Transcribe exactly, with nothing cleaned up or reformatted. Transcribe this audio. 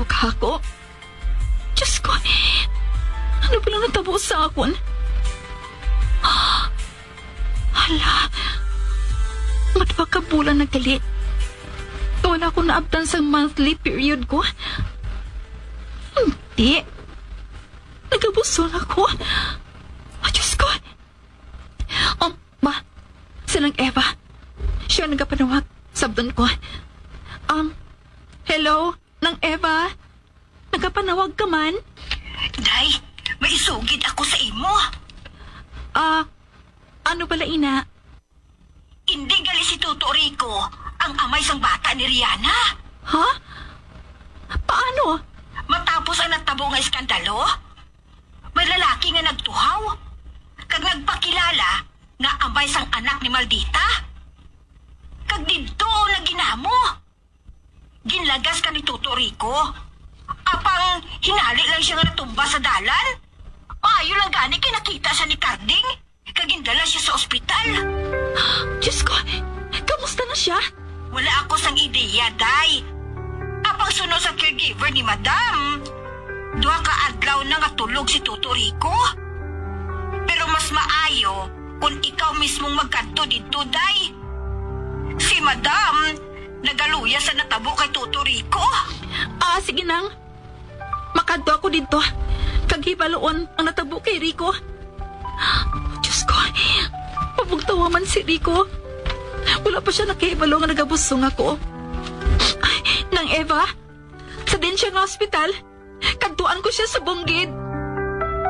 Ka ako. Diyos ko, ano pala natabo sa akon? Hala, madwa ka bulan na gali. Wala ko naabtan sa monthly period ko. Hindi. Nagabusol ako. Oh, Diyos ko. Um, ma, si Nang Eva. Siya nagapanawag. Sabton ko. Um, hello, Nang Eva? Nagapanawag ka man? Day, may isugid ako sa imo. Ah, ano bala ina? Indi gali si Toto Rico ang amay sang bata ni Rihanna. Ha? Paano? Matapos ang natabo nga iskandalo, may lalaki nga nagtuhaw kag nagpakilala nga amay sang anak ni Maldita. Kag didto na ginamo. Ginlagas ka ni Toto Rico. Apang hinali lang siya nga natumba sa dalan. Maayo lang gani kay nakita siya ni Carding kag gindala siya sa ospital. Diyos ko, kamusta na siya? Wala ako sang ideya, Day. Apang suno sa caregiver ni Madam, duha ka adlaw na nga tulog si Toto Rico. Pero mas maayo kung ikaw mismong magkadto didto, Day. Si Madam nagaluya sa natabo kay Toto Rico. Ah, sige nang. Makadto ako didto. Kag hibaluon ang natabo kay Rico. Diyos ko, pabugtawa man si Rico. Wala pa siya nakahibalo nga nagabusong ako. Ay, Nang Eva, sa din siya nga ospital, kadtuan ko siya sa bunggid.